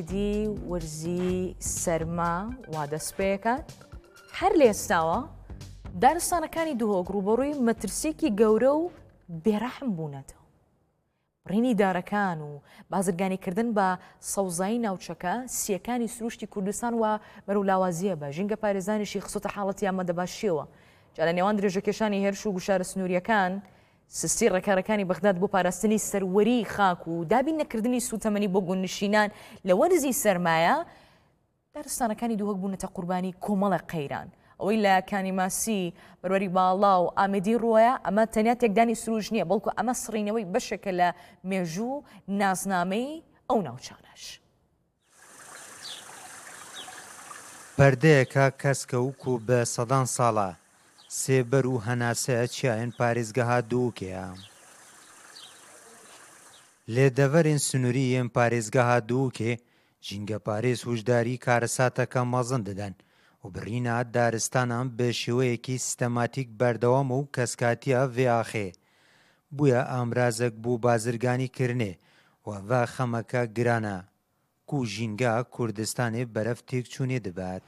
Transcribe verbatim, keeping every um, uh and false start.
دی وەرزی سەرما وا دەست پێکات. هەر لە ئێستاوە دارستانەکانی دهۆک ڕوبەڕووی مەترسیەکی گەورە و بێڕەحم بوونەتەوە. بڕینی دارەکان و بازرگانیکردن بە سەوزایی ناوچەکە سیەکانی سروشتی کوردستان و بەرەو لاوازیە بە ژینگە پارێزانیشی خسۆتە حاڵەتی ئامادەباشیەوە. جا لە نێوان درێژەکێشانی هێرش و گوشارە سنووریەکان، سستی ڕێکارەکانی بەغداد بۆ پاراستنی سەروەری خاک و دابین نەکردنی سوتەمەنی بۆ گوندنشینان لە وەرزی سەرمایە، دارستانەکانی دووهک بوونەتە قوربانی کۆمەڵە قەیران. ئەوەی لە کانی ماسی، بەروەری باڵا و ئامێدی ڕووە، ئەمە تەنیا تێکدانی سروش نییە، بەڵکو ئەمە سڕینەوەی بەشێکە لە مێژوو نازنامەی ئەو ناوچانەش. پەردەیەکە کەسکە و کو بە سەدان ساڵە سێبەر و هەناسەیە چیایەن پارێزگەها دووکەیە. لێ دەڤەرێن سنووری یەن پارێزگەها دووکێ ژینگە پارێز هوشداری کارەساتەکە مەزن دەدەن و بڕینە دارستانان بە شێوەیەکی سیستەماتیک بەردەوام و کەسکاتیە ڤێ ئاخێ بووە ئامرازەک بوو بازرگانی کردنێ و ڤە خەمەکە گرانە. کو ژینگە کوردستانê beref têkçûnê dibet.